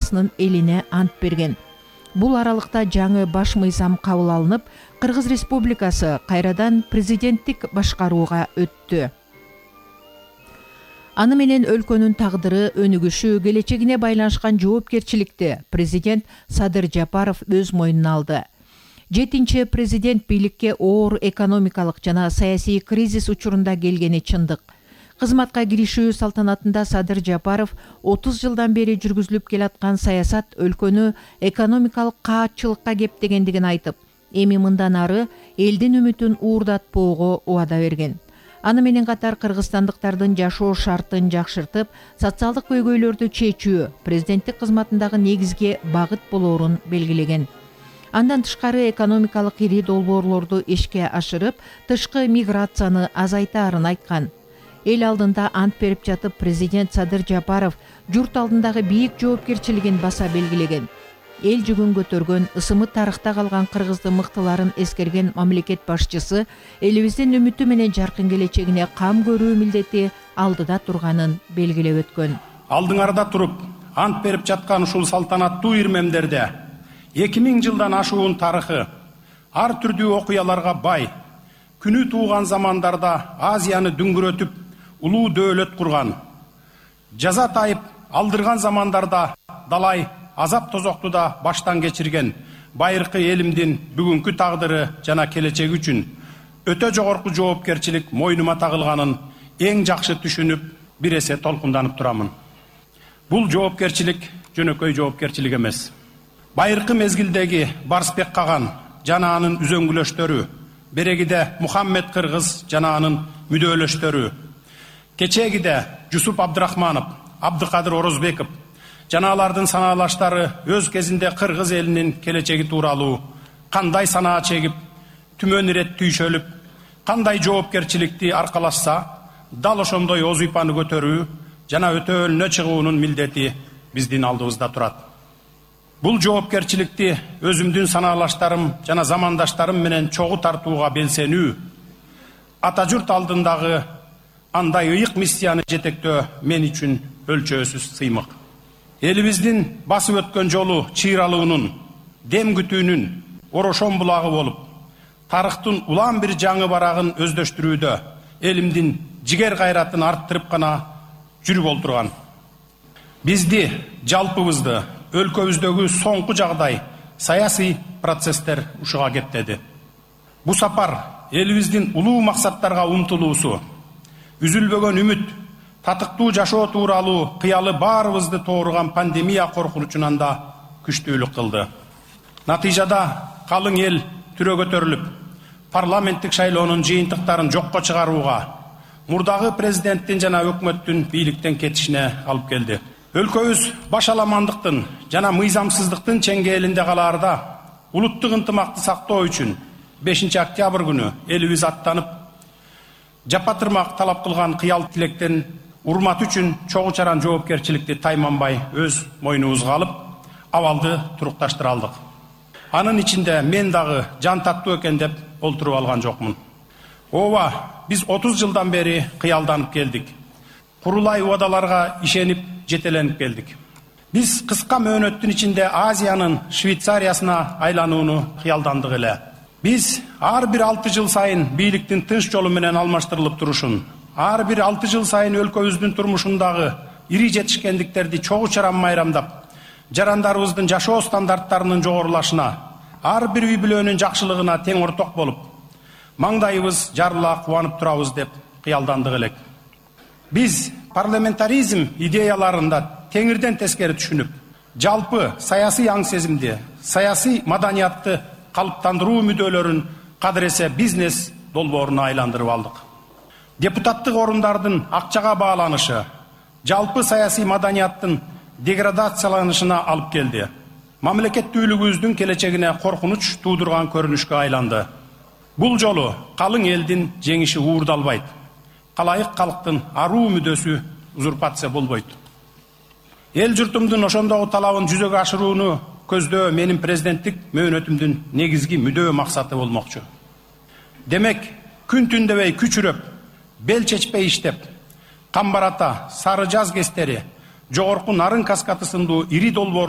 Республикасынын элине ант берген. Бул аралыкта жаңы баш мыйзам кабыл алынып, Кыргыз Республикасы кайрадан президенттик башкарууга өттү. Аны менен өлкөнүн тагдыры, өнүгүшү, келечегине байланышкан жоопкерчиликти президент Садыр Жапаров өз мойнуна алды. 7-чи президент бийликке оор экономикалык жана саясий кризис учурунда келгени чындык. Кызматка киришүү салтанатында Садыр Жапаров 30 жылдан бери жүргүзүлүп келаткан саясат өлкөнү экономикалык каатчылыкка кептегендигин айтып, эми мындан ары элдин үмүтүн уурдатпоого убада берген. Аны менен катар кыргызстандыктардын жашоо шартын жакшыртып, социалдык көйгөйлөрдү чечүү президенттик кызматындагы негизги багыт болоорун белгилеген. Андан тышкары экономикалык ири долбоорлорду ишке ашырып, тышкы миграцияны азайтаарын айткан. Эл алдында ант берип жатып, президент Садыр Жапаров журт алдындагы бийик жоопкерчилигин баса белгилеген. Эл жүгүн көтөргөн, ысымы тарыхта калган кыргыздын мыктыларын эскерген мамлекет башчысы элибиздин үмүтү менен жаркын келечегине кам көрүү милдети алдыда турганын белгилеп өткөн. Алдыңарда туруп, ант берип жаткан ушул салтанаттуу ирмемдерде 2000 жылдан ашуун тарыхы, ар түрдүү окуяларга бай, күнү тууган замандарда Азияны дүңгүрөтүп, улуу дөөлөт курган, жаза тайып алдырган замандарда далай азап тозокту да баштан кечирген байыркы элимдин бүгүнкү тагдыры жана келечеги үчүн өтө жогорку жоопкерчилик мойнума тагылганын эң жакшы түшүнүп, бир эсе толкунданып турамын. Бул жоопкерчилик жөнөкөй жоопкерчилик эмес. Байыркы мезгилдеги Барсбек Каган жана анын үзөңгүлөштөрү, берегиде Мухаммед Кыргыз жана анын мүдөөлөштөрү, кечегиде Жусуп Абдрахманов, Абдыкадыр Орозбеков жана алардын санаалаштары өз кезинде кыргыз элинин келечеги тууралуу кандай санаа чегип, түмөн ирет түйшөлүп, кандай жоопкерчиликти аркалашса, дал ошондой оз уйпаны көтөрүү жана өтөөлүнө чыгуунун милдети биздин алдыбызда турат. Бул жоопкерчиликти өзүмдүн санаалаштарым жана замандаштарым менен чогуу тартууга белсенүү, ата журт алдындагы андай ыйык миссияны жетектөө мен үчүн өлчөөсүз сыймык. Элибиздин басып өткөн жолу чыйралуунун, дем күтүүнүн орошон булагы болуп, тарыхтын улам бир жаңы барагын өздөштүрүүдө элимдин жигер кайратын арттырып гана жүрүп олтурган. Бизди, жалпыбызды, өлкөбүздөгү соңку жагдай саясий процесстер ушуга кептеди. Бу сапар элибиздин улуу максаттарга умтулуусу, үзүлбөгөн үмүт, татыктуу жашоо тууралуу кыялы баарыбызды тооруган пандемия коркунучунан да күчтүүлүк кылды. Натыйжада калың эл түрө көтөрүлүп, парламенттик шайлоонун жыйынтыктарын жокко чыгарууга, мурдагы президенттин жана өкмөттүн бийликтен кетишине алып келди. Өлкөбүз башаламандыктын жана мыйзамсыздыктын чеңгээлинде калаарда улуттук ынтымакты сактоо үчүн 5 октябрь күнү элибиз аттанып, жапатырмак талап кылган кыял тилектен урмат үчүн чогуу чаран жоопкерчиликти тайманбай өз мойнубузга алып, абалды турукташтыра алдык. Анын ичинде мен дагы жан таттуу экен деп олтуруп алган жокмун. Ооба, биз 30 жылдан бери кыялданып келдик. Курулай убадаларга ишенип, жетеленип келдик. Биз кыска мөөнөттүн ичинде Азиянын Швейцариясына айланууну кыялдандык эле. Биз ар бир 6 жыл сайын бийликтин тынч жолу менен алмаштырылып турушун, ар бир 6 жыл сайын өлкөбүздүн турмушундагы ири жетишкендиктерди чогуу чаран майрамдап, жарандарыбыздын жашоо стандарттарынын жогорулашына, ар бир үй бүлөнүн жакшылыгына тең орток болуп, маңдайыбыз жарыла кубанып турабыз деп кыялдандык элек. Биз парламентаризм идеяларында теңирден тескери түшүнүп, жалпы саясий аң сезимди, саясий маданиятты калыптандыруу мүдөлөрүн кадыресе бизнес долбооруна айландырып алдык. Депутаттык орундардын акчага бааланышы жалпы саясий маданияттын деградацияланышына алып келди. Мамлекеттүүлүгүбүздүн келечегине коркунуч туудурган көрүнүшкө айланды. Бул жолу калың элдин жеңиши уурдалбайт. Калайык калктын аруу мүдөсү узурпация болбойт. Эл журтумдун ошондогу талабын жүзөгө ашырууну көздөө менин президенттик мөөнөтүмдүн негизги мүдөө максаты болмокчу. Демек, күн түндебей күчүрөп, бел чечпей иштеп, Камбарата, Сары Жаз кестери, жогорку Нарын каскаты сындуу ири долбоорлор